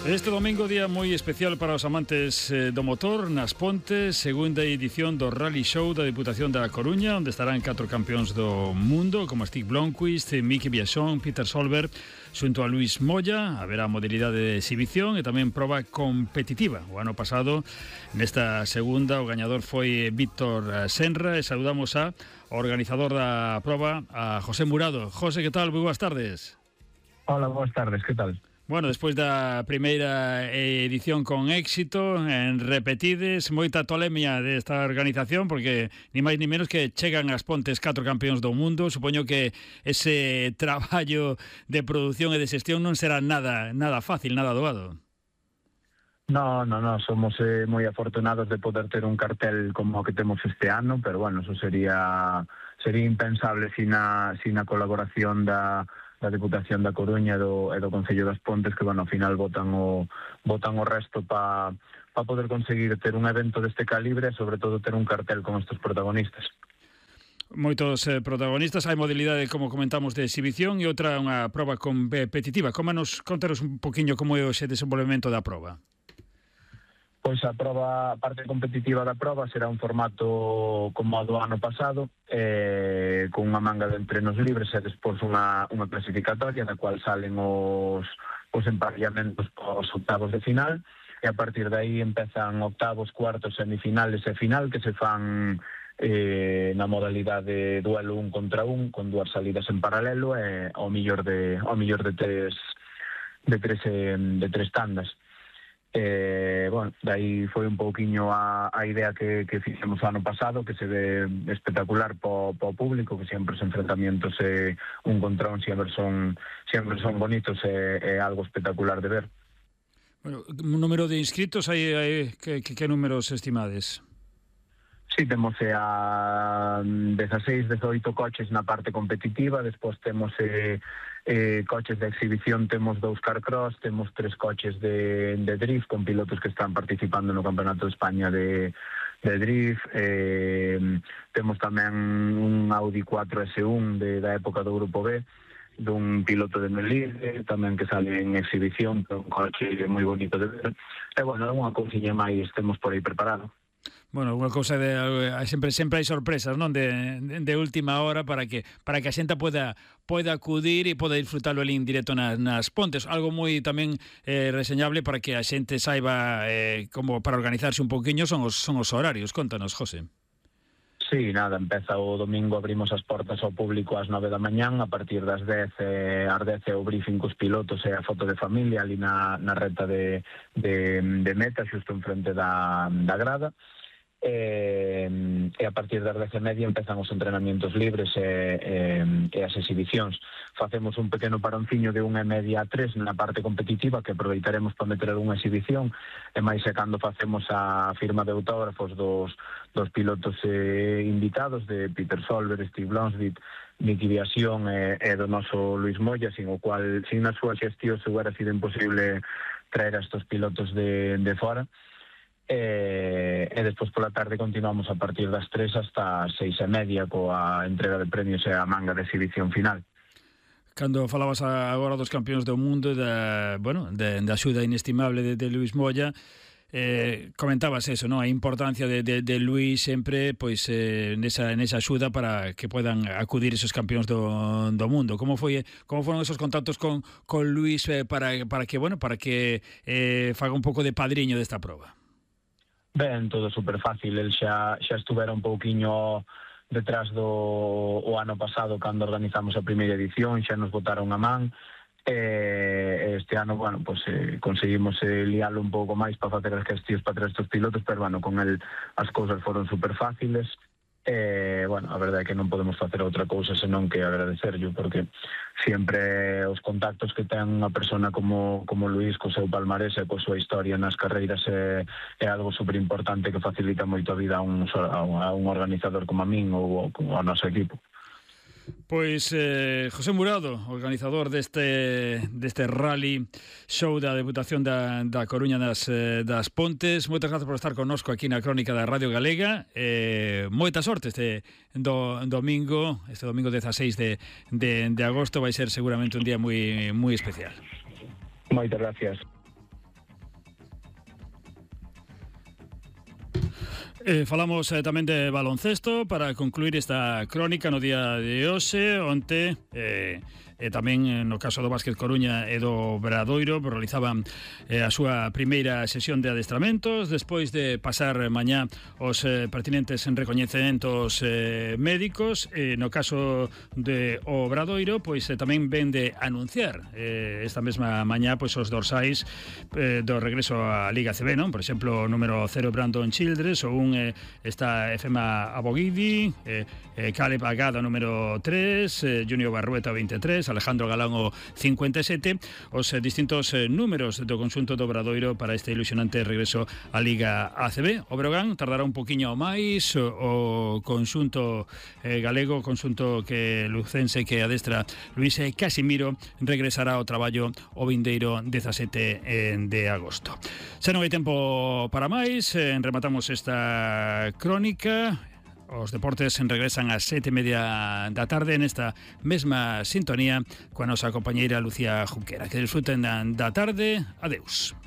Este domingo, día moi especial para os amantes do motor nas Pontes, segunda edición do Rally Show da Deputación da Coruña, onde estarán 4 campións do mundo como Stig Blomqvist, Miki Biasson, Peter Solberg, xunto a Luis Moya. Haberá modalidade de exhibición e tamén proba competitiva. O ano pasado, nesta segunda, o gañador foi Víctor Senra, e saludamos ao organizador da proba, a José Murado. José, que tal? Moi boas tardes. Hola, boas tardes, que tal? Bueno, despois da primeira edición con éxito, en repetides, moita tolemia desta organización, porque ni máis ni menos que chegan ás Pontes 4 campións do mundo. Supoño que ese traballo de produción e de xestión non será nada fácil, nada doado. No, somos moi afortunados de poder ter un cartel como o que temos este ano, pero bueno, eso sería impensable sin a colaboración da Deputación da Coruña e do Concello das Pontes, que, bueno, ao final botan o resto para poder conseguir ter un evento deste calibre e, sobre todo, ter un cartel con estes protagonistas. Moitos protagonistas. Hai modalidade, como comentamos, de exhibición e outra unha proba competitiva. Contaros un poquinho como é o desenvolvemento da proba. Pois a parte competitiva da proba será un formato como o do ano pasado, con unha manga de entrenos libres e despois unha clasificatoria na cual salen os emparellamentos aos octavos de final, e a partir de aí empezan octavos, cuartos, semifinales e final, que se fan na modalidade duelo 1 contra 1, con 2 salidas en paralelo e ao millor de tres tandas. Bueno, dai foi un pouquiño a idea que fixemos o ano pasado, que se ve espectacular po público, que sempre os enfrentamientos un contra un sempre son bonitos e algo espectacular de ver. Bueno, un número de inscritos, hai que números estimades? Sí, temos a 16, 18 coches na parte competitiva, despois temos coches de exhibición, temos 2 carcross, temos 3 coches de drift con pilotos que están participando no Campeonato de España de drift, temos tamén un Audi 4 S1 da época do Grupo B, dun piloto de Melide, tamén que sale en exhibición, un coche moi bonito de ver, e, bueno, unha cousiña máis temos por aí preparado. Bueno, unha cousa sempre hai sorpresas, non, de última hora para que a xente poda acudir e poda disfrutalo en directo nas Pontes. Algo moi tamén reseñable para que a xente saiba como para organizarse un poquinho son os horarios. Contanos, José. Sí, nada, empeza o domingo, abrimos as portas ao público ás 9 da mañán, a partir das 10 o briefing cos pilotos e a foto de familia ali na reta de meta, xusto en frente da grada. E a partir das 10:30 empezan os entrenamientos libres e as exhibicións. Facemos un pequeno paronciño de 1:30 a 3 na parte competitiva, que aproveitaremos para meter algunha exhibición, e máis cando facemos a firma de autógrafos dos pilotos invitados, de Peter Solberg, Stig Blomqvist, Miki Biasson e do noso Luis Moya, sin o cual, sin a súa xestión, se hubiera sido imposible traer a estos pilotos de fora. E despois pola tarde continuamos a partir das 3 hasta as 6:30 coa entrega de premios e a manga de exhibición final. Cando falabas agora dos campións do mundo, da axuda inestimable de Luis Moya, comentabas eso, non? A importancia de Luis sempre pois nesa axuda para que podan acudir esos campións do mundo. Como foron esos contactos con Luis para que faga un pouco de padriño desta proba? Ben, todo super fácil. El xa estuvera un pouquiño detrás o ano pasado cando organizamos a primeira edición, xa nos botaron a man. Este ano, bueno, pues conseguimos lialo un pouco máis para facer as gestións para traer estes pilotos, pero, bueno, con el as cousas foron super fáciles. Bueno, a verdade é que non podemos facer outra cousa senón que agradecerllo, porque sempre os contactos que ten unha persona como Luis co seu palmarés e coa súa historia nas carreiras é algo super importante que facilita moito a vida a un organizador como a min ou ao noso equipo. Pois José Murado, organizador deste Rally Show da Deputación da Coruña das Pontes, moitas grazas por estar connosco aquí na Crónica da Radio Galega. Moita sorte este domingo 16 de agosto, vai ser seguramente un día moi especial. Moitas gracias. Falamos tamén de baloncesto para concluir esta crónica no día de hoxe. Onte tamén no caso do Básquet Coruña e do Obradoiro realizaban a súa primeira sesión de adestramentos despois de pasar mañá os pertinentes recoñecementos médicos. No caso de Obradoiro, pois tamén ven de anunciar esta mesma mañá pois os dorsais do regreso á Liga CB, non? Por exemplo, o número 0 Brandon Childress, ou un está Efema Abogidi, Caleb Agada número 3, Junior Barrueta 23, Alejandro Galán o 57, os distintos números do conxunto do Obradoiro para este ilusionante regreso á Liga ACB. O Breogán tardará un poquinho máis, o conxunto galego, conxunto que lucense que adestra Luís Casimiro, regresará ao traballo o vindeiro 17 de agosto. Se non hai tempo para máis, rematamos esta crónica. Os deportes regresan ás 7:30 da tarde nesta mesma sintonía coa nosa compañeira Lucía Junquera. Que disfruten da tarde. Adeus.